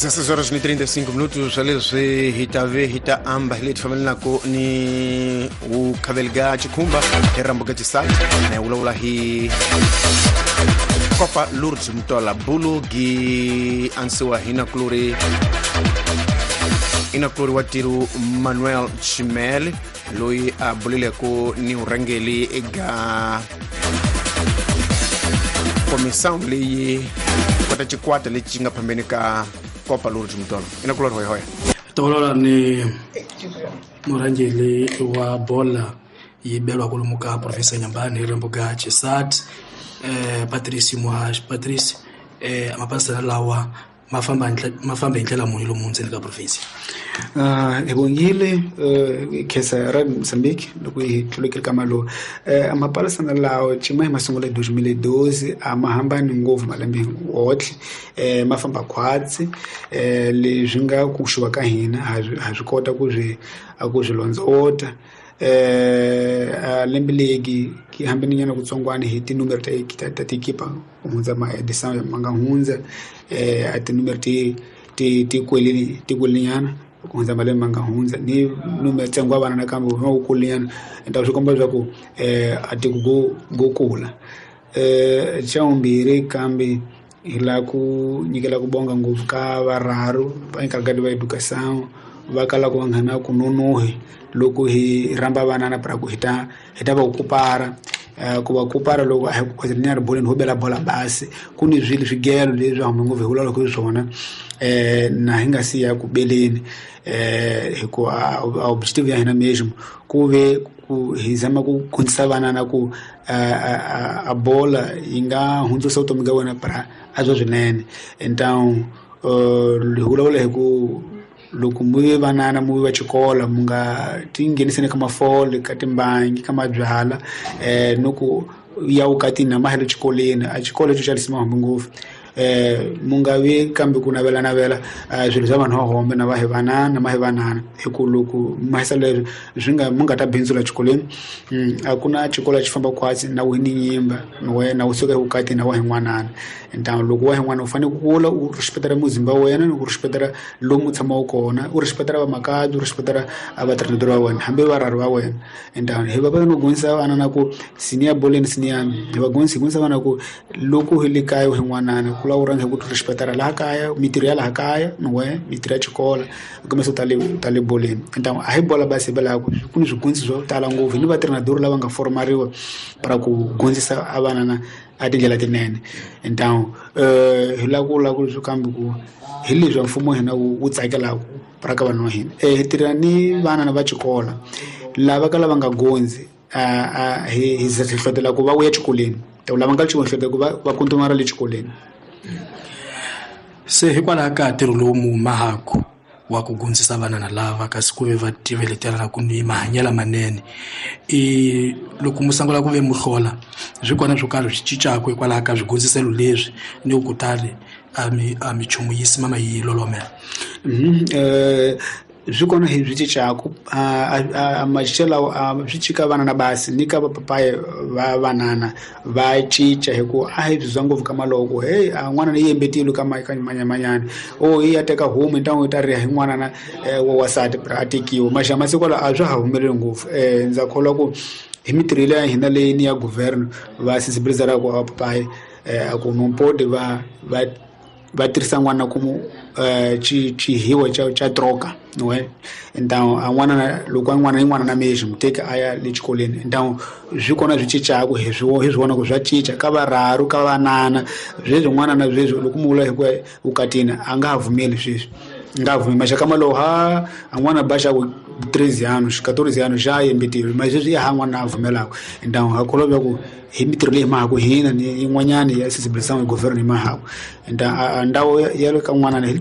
16 horas ni 35 minutos leswi hi ta ve hi ta amba hi leti fambelanaka ni vukhaveli chikhumba hi rambuka xisati na hi vulavula hi Copa Lourdes Mutola bulu gi ansiwa hi nakulori i nakulori wa tiru Manuel Chimel loyi a bulileko ni vurhangeli eka komisão leyi kota xikwata lexi xi nga phambeni ka Copa Lourdes Mutola. I nakulori hoya hoya. Tolola ni murhangeli wa bola yi belwa kwalomu ka professor Nyambani hi rimbo ga Chisat, Patrice Muhash. Patrice, mapasana lawa ma famba hi ndlela muni lomu ndzeni ka province? Hi vongile khensa ra Mozambique loko hi tlulekile ka malowu. Mapalisana lawa cima hi masungulo ya 2012 a ma hambani ngopfu malembe wotlhe, ma famba khwatsi. Leswi nga ku xuva ka hina ha swi kota ku swi londzovota. Lembe legi ki hambani nyana kutsongwana hi tinumero ta tikipa ku hundza ma-edição ma nga hundza, a tinumero ti ti ti kwelini ti kwelinyana ku hundza malembe ma nga hundza, ni numero ntsengo wa vana nakambe wu wu kulinyana. Enta swi komba leswaku a tiko go kula. Xa vumbirhi kambe hi lava ku nyikela ku bonga ngopfu ka varharu va encarregado va educação va kalaka va nga na ku nonohi loko hi rhamba vanana pra ku hi ta va kupara. Ku va kupara loko a hi ku khwezela ri boleni ho bela bola basi ku ni swilo swigelo leswi hume ngopfu hi vulavulaka hi swona, na hi nga si ya ku beleni, hikuva objective ya hina mesmo ku ve ku hi zama ku khondzisa vanana ku a bola yi nga hundzusa vutomi bya wena pra a bya swinene. Então hi vulavula hi ku loko mu ve vanana mu ve va xikolo mu nga ti ngheniseni ka mafole ka timbangi ka mabyala, no ku ya vukatini na mahelo xikolweni a xikolo xo xavisa mahombe ngopfu. Mu nga vi kambe ku navelanavela swilo swa vanhu va hombe na va hi vanana ma hi vanana, hi ku loko mahisa leswi swi nga mu nga ta bindzula xikolweni. A ku na xikolo xi famba khwatsi na wu ni nyimba wena wu suka evukatini na wa hi n'wanana. Então loko wa hi n'wana u fanele ku kula u respectera muzimba wa wena, u respectera lomu u tshamaka kona, u respectera vamakabye, u respectera vatrendoro va wena hambi varhari va wena. Então hi va va no gonisa vana na ku senior boleni senior hi va gonisa hi gonisa vana ku loko hi le kaya hi n'wanana ku lava u rhanga hi ku respectera laha kaya mitirho ya laha kaya we mitirho ya xikolo kumbe swo ta le boleni. Então a hi bola basi hi belaka ku ni swigondziso swo tala ngopfu ni vatrendoro lava nga formariwa para ku gondzisa a vana na a tindlela tinene. Então hi lava ku vula ku leswi kambe ku hi leswi mfumo wa hina wu tsakelaka para ka vanhu va hina. Hi tirha ni vana na va xikolo lava ka lava nga gondzi hi hlohlotela ku va vuya exikolweni, lava nga xikolweni hlohlotela ku va kontinua le xikolweni. Se hikwalaho ka ntirho lowu mu mahaku wa ku gondzisa vanana lava kasi ku ve va tiveletela ku ni mahanyelo manene, i loko mu sungula ku ve muhlola swi kona swo karhi swi cincaka hikwalaho ka swigondziselo leswi ni ku kutani a mi chumu yi simama yi lolomela? Swi kona hi swi cincaku a macicelo swi cika vana na basi ni ka vapapayi va vanana va cinca hi ku a hi swi ngopfu ka maloko hey a n'wana ni yembetile ka manyamanyana o yi ya teka homu ntangu yi ta riha hi n'wana na wa wasati a tekiwa maxa masiku lawa a swa ha humeleli ngopfu. Ndza kholwa ku hi mitirho ya hina leyi ni ya governo va sensibilizara ku vapapayi a ku nompodi va va va tirhisa n'wana ku xihiwa xa troka we. Então a n'wana loko a n'wana i n'wana na mexi muteki a ya le xikolweni. Então swi kona swi cincaku hi swi vona ku swa cinca ka varharu ka vanana sweswi n'wana na sweswi loko mu vula hi ku vukatini a nga ha pfumeli sweswi nga ha pfumeli maxaka malowo ha a n'wana ba xa ku 13 anos 14 anos xa yembetile mas sweswi i ha n'wana a pfumelaka. Então ha kholwa ku hi mitirho leyi mahaku hina ni yin'wanyana ya sensibilisation hi governo hi mahaku. Então a ndhawu ya le ka n'wana hi